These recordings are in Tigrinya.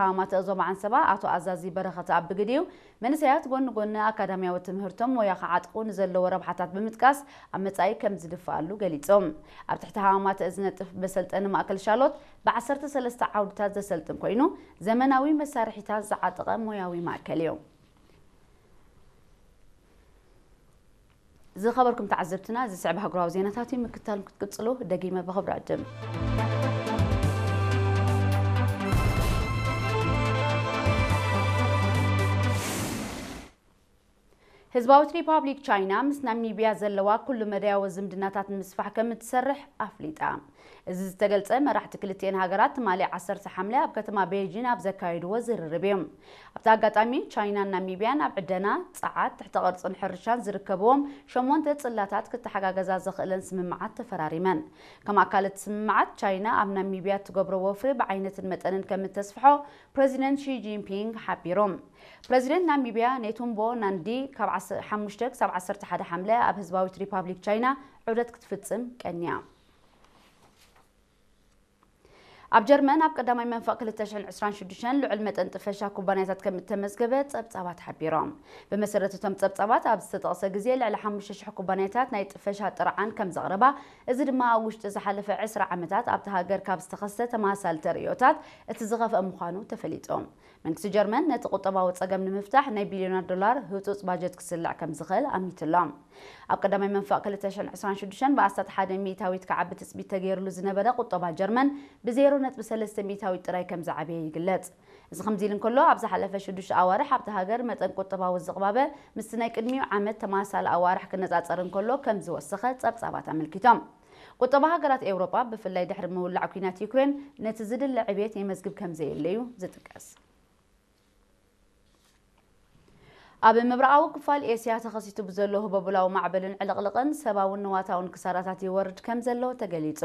ሃማማተ ዞባ ዓንሰባ ኣቶ ኣዛዚ በረኸት ኣብ ብግዲኡ፣ መንእሰያት ጎኒ ጎኒ ኣካዳሚያዊ ትምህርቶም ሞያ ክዓጥቑ ንዘለዎ ረብሓታት ብምጥቃስ ኣብ መጻኢ ከም ዝድፍኣሉ ገሊጾም። ኣብ ትሕቲ ሃማማተ ዝነጥፍ መሰልጠኒ ማእከል ሻሎት ብ ዓሰርተ ሰለስተ ዓውድታት ዘሰልጥን ኮይኑ፣ ዘመናዊ መሳርሒታት ዝዓጠቐ ሞያዊ ማእከል እዩ። ዝኸበርኩም ተዓዘብትና፣ ዝስዕብ ሃገራዊ ዜናታት እዩ። ምክታል ክትቅጽሉ ደጊመ ብኽብሪ ዕድም። ህዝባዊት ሪፓብሊክ ቻይና ምስ ናሚቢያ ዘለዋ ኩሉ መዳያዊ ዝምድናታት ንምስፋሕ ከም እትሰርሕ ኣፍሊጣ። እዚ ዝተገልጸ መራሕቲ ክልቲኤን ሃገራት ትማሊ ዓሰርተ ሓምለ ኣብ ከተማ ቤይጂን ኣብ ዘካየድዎ ዝርርብ እዩ። ኣብቲ ኣጋጣሚ ቻይናን ናሚቢያን ኣብ ዕደና፣ ጸዓት፣ ትሕተ ቅርጽን ሕርሻን ዝርከብዎም ሸሞንተ ጽላታት ክተሓጋገዛ ዘኽእለን ስምምዓት ተፈራሪመን። ከም ኣካል እቲ ስምምዓት ቻይና ኣብ ናሚቢያ እትገብሮ ወፍሪ ብዓይነትን መጠንን ከም እተስፍሖ ፕረዚደንት ሺ ጂንፒንግ ሓቢሮም። ፕረዚደንት ናሚቢያ ኔቱምቦ ናንዲ ካብ ዓሰርተ ሓሙሽተ ክሳብ ዓሰርተ ሓደ ሓምለ ኣብ ህዝባዊት ሪፓብሊክ ቻይና ዑደት ክትፍጽም ቀንያ። ኣብ ጀርመን ኣብ ቀዳማይ መንፈቕ ክልተ ሽሕን ዕስራን ሽዱሽተን ልዑል መጠን ጥፈሻ ኩባንያታት ከም እተመዝገበ ጸብጻባት ሓቢሮም። ብመሰረት እቶም ጸብጻባት ኣብ ዝተጠቕሰ ግዜ ልዕሊ ሓሙሽተ ሽሕ ኩባንያታት ናይ ጥፈሻ ጥርዓን ከም ዘቕረባ፣ እዚ ድማ ኣብ ውሽጢ ዝሓለፈ ዕስራ ዓመታት ኣብቲ ሃገር ካብ ዝተኸስተ ተመሳሳሊ ተርእዮታት እቲ ዝኸፍአ ምዃኑ ተፈሊጡ። መንግስቲ ጀርመን ነቲ ቁጠባዊ ጸገም ንምፍታሕ ናይ ቢልዮናት ዶላር ህጹጽ ባጀት ክስልዕ ከም ዝኽእል ኣሚቱ ኣሎ። ኣብ ቀዳማይ መንፈቕ ክልተ ሽሕን ዕስራን ሽዱሽተን ብኣስታት ሓደ ሚእታዊት ክዓቢ ትጽቢት ተገይሩሉ ዝነበረ ቁጠባ ጀርመን ብዜሮ ነጥቢ ሰለስተ ሚእታዊት ጥራይ ከም ዝዓበየ ይግለጽ። እዚ ከምዚ ኢሉ እንከሎ፣ ኣብ ዝሓለፈ ሽዱሽተ ኣዋርሕ ኣብቲ ሃገር መጠን ቁጠባዊ ዝቕባበ ምስቲ ናይ ቅድሚኡ ዓመት ተመሳሳሊ ኣዋርሕ ክነጻጸር እንከሎ ከም ዝወሰኸ ጸብጻባት ኣመልኪቶም። ቁጠባ ሃገራት ኤውሮጳ፣ ብፍላይ ድሕሪ ምውላዕ ኲናት ዩክሬን፣ ነቲ ዝድለ ዕብየት የመዝግብ ከም ዘየለ እዩ ዝጥቀስ። ኣብ ምብራቓዊ ክፋል ኤስያ ተኸሲቱ ብዘሎ ህቦብላዊ ማዕበልን ዕልቕልቕን ሰብኣውን ንዋታውን ክሳራታት ይወርድ ከም ዘሎ ተገሊጹ።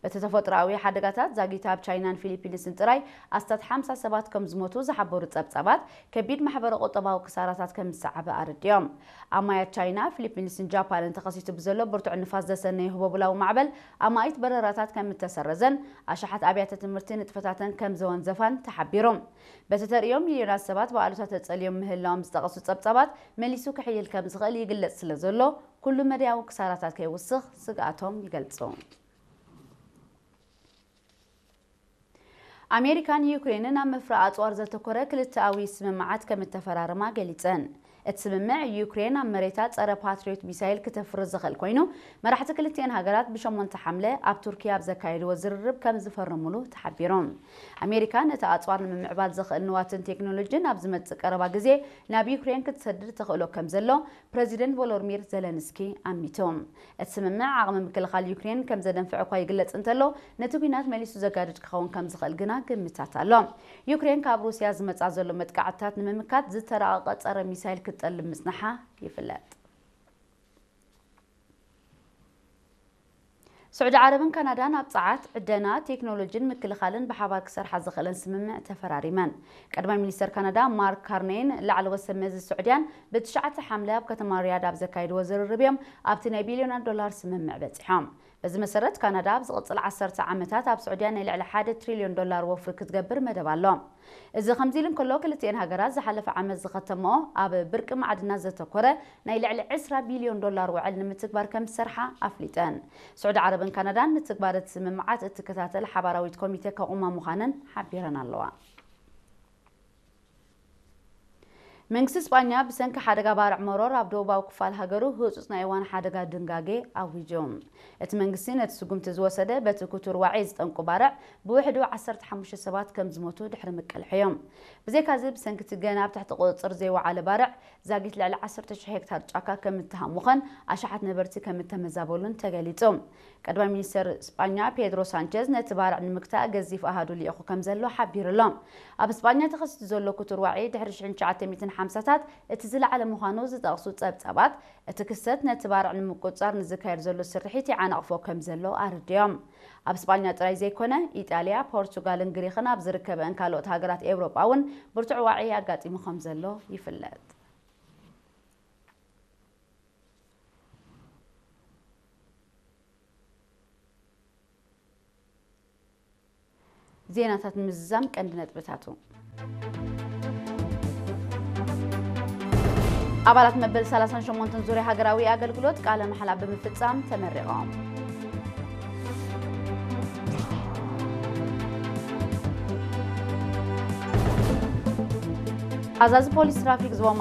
በቲ ተፈጥሮኣዊ ሓደጋታት ዛጊት ኣብ ቻይናን ፊሊፒንስን ጥራይ ኣስታት ሓምሳ ሰባት ከም ዝሞቱ ዝሓበሩ ጸብጻባት፣ ከቢድ ማሕበረ ቁጠባዊ ክሳራታት ከም ዝሰዓበ ኣረዲኦም። ኣማያት ቻይና፣ ፊሊፒንስን ጃፓንን ተኸሲቱ ብዘሎ ብርቱዕ ንፋስ ዘሰነየ ህቦብላዊ ማዕበል ኣማኢት በረራታት ከም እተሰረዘን ኣሽሓት ኣብያተ ትምህርቲ ንጥፈታተን ከም ዘወንዘፋን ተሓቢሩ። በቲ ተርእዮ ሚልዮናት ሰባት ብኣሉታ ተጸልዮም ምህላዎም ዝጠቐሱ ጸብጻባት፣ መሊሱ ክሕይል ከም ዝኽእል ይግለጽ ስለ ዘሎ፣ ኩሉ መዳያዊ ክሳራታት ከይውስኽ ስግኣቶም ይገልጹ። ኣሜሪካን ዩክሬንን ኣብ ምፍራይ ኣጽዋር ዘተኮረ ክልተኣዊ ስምምዓት ከም እተፈራረማ ገሊጸን። እቲ ስምምዕ፣ ዩክሬን ኣብ መሬታ ጸረ ፓትሪዮት ሚሳይል ክተፍሪ ዝኽእል ኮይኑ፣ መራሕቲ ክልቲኤን ሃገራት ብሸሞንተ ሓምለ ኣብ ቱርኪ ኣብ ዘካየድዎ ዝርርብ ከም ዝፈረሙሉ ተሓቢሩ። ኣሜሪካ ነቲ ኣጽዋር ንምምዕባል ዘኽእል ንዋትን ቴክኖሎጂን ኣብ ዝመጽእ ቀረባ ግዜ ናብ ዩክሬን ክትሰድድ ተኽእሎ ከም ዘሎ ፕረዚደንት ቮሎድሚር ዘለንስኪ ኣሚቱ። እቲ ስምምዕ ዓቕሚ ምክልኻል ዩክሬን ከም ዘደንፍዕ እኳ ይግለጽ እንተሎ፣ ነቲ ኲናት መሊሱ ዘጋድድ ክኸውን ከም ዝኽእል ግና ግምታት ኣሎ። ዩክሬን ካብ ሩስያ ዝመጻ ዘሎ መጥቃዕትታት ንምምካት ዝተራቐቐ ጸረ ሚሳይል ክትጠልብ ምጽናሓ ይፍለጥ። ስዑዲ ዓረብን ካናዳን ኣብ ጸዓት፣ ዕደና፣ ቴክኖሎጂን ምክልኻልን ብሓባር ክሰርሓ ዝኽእለን ስምምዕ ተፈራሪመን። ቀዳማይ ሚኒስተር ካናዳ ማርክ ካርኔይን ላዕለዎት ሰብ መዚ ስዑድያን ብትሽዓተ ሓምለ ኣብ ከተማ ሪያድ ኣብ ዘካየድዎ ዝርርብ እዮም ኣብቲ ናይ ቢልዮናት ዶላር ስምምዕ በጺሖም። በዚ መሰረት፣ ካናዳ ኣብ ዝቕጽል ዓሰርተ ዓመታት ኣብ ስዑድያ ናይ ልዕሊ ሓደ ትሪልዮን ዶላር ወፍሪ ክትገብር መደብ ኣሎ። እዚ ከምዚ ኢሉ እንከሎ፣ ክልቲኤን ሃገራት ዝሓለፈ ዓመት ዝኸተምኦ ኣብ ብርቂ ማዕድናት ዘተኮረ ናይ ልዕሊ ዕስራ ቢልዮን ዶላር ውዕል ንምትግባር ከም ዝሰርሓ ኣፍሊጠን። ስዑዲ ዓረብን ካናዳን ንትግባረ እቲ ስምምዓት እትከታተል ሓባራዊት ኮሚተ ከቑማ ምዃነን ሓቢረን ኣለዋ። መንግስቲ ስጳኛ ብሰንኪ ሓደጋ ባርዕ መሮር ኣብ ደቡባዊ ክፋል ሃገሩ ህጹጽ ናይ እዋን ሓደጋ ድንጋጌ ኣዊጁ። እቲ መንግስቲ ነቲ ስጉምቲ ዝወሰደ በቲ ክቱር ዋዒ ዝጠንቁ ባርዕ ብውሕዱ ዓሰርተ ሓሙሽተ ሰባት ከም ዝሞቱ ድሕሪ ምቅልሖ እዮም። ብዘይካዚ ብሰንኪ እቲ ገና ኣብ ትሕቲ ቁጽጽር ዘይወዓለ ባርዕ ዛጊት ልዕሊ ዓሰርተ ሽሕ ሄክታር ጫካ ከም እተሃሙኸን ኣሽሓት ነበርቲ ከም እተመዛበሉን ተገሊጹ። ቀዳማይ ሚኒስተር ስጳኛ ፔድሮ ሳንቸዝ ነቲ ባርዕ ንምግታእ ገዚፍ ኣሃዱ ልኢኹ ከም ዘሎ ሓቢሩ ኣሎ። ኣብ ስጳኛ ተኸሲቱ ዘሎ ክቱር ዋዒ ድሕሪ ሽሕን ትሽዓተ ሚእትን ሓምሳታት እቲ ዝለዓለ ምዃኑ ዝጠቕሱ ጸብጻባት፣ እቲ ክስተት ነቲ ባርዕ ንምቁጽጻር ንዝካየድ ዘሎ ስርሒት ይዓናቕፎ ከም ዘሎ ኣረዲኦም። ኣብ ስጳኛ ጥራይ ዘይኮነ፣ ኢጣልያ፣ ፖርቹጋልን ግሪኽን ኣብ ዝርከበአን ካልኦት ሃገራት ኤውሮጳ እውን ብርቱዕ ዋዒ ኣጋጢሙ ከም ዘሎ ይፍለጥ። ዜናታት ንምዝዛም ቀንዲ ነጥብታቱ። ኣባላት መበል ሰላሳን ሸሞንተን ዙርያ ሃገራዊ ኣገልግሎት ቃለ መሓላ ብምፍጻም ተመሪቖም። ኣዛዚ ፖሊስ ትራፊክ ዞባ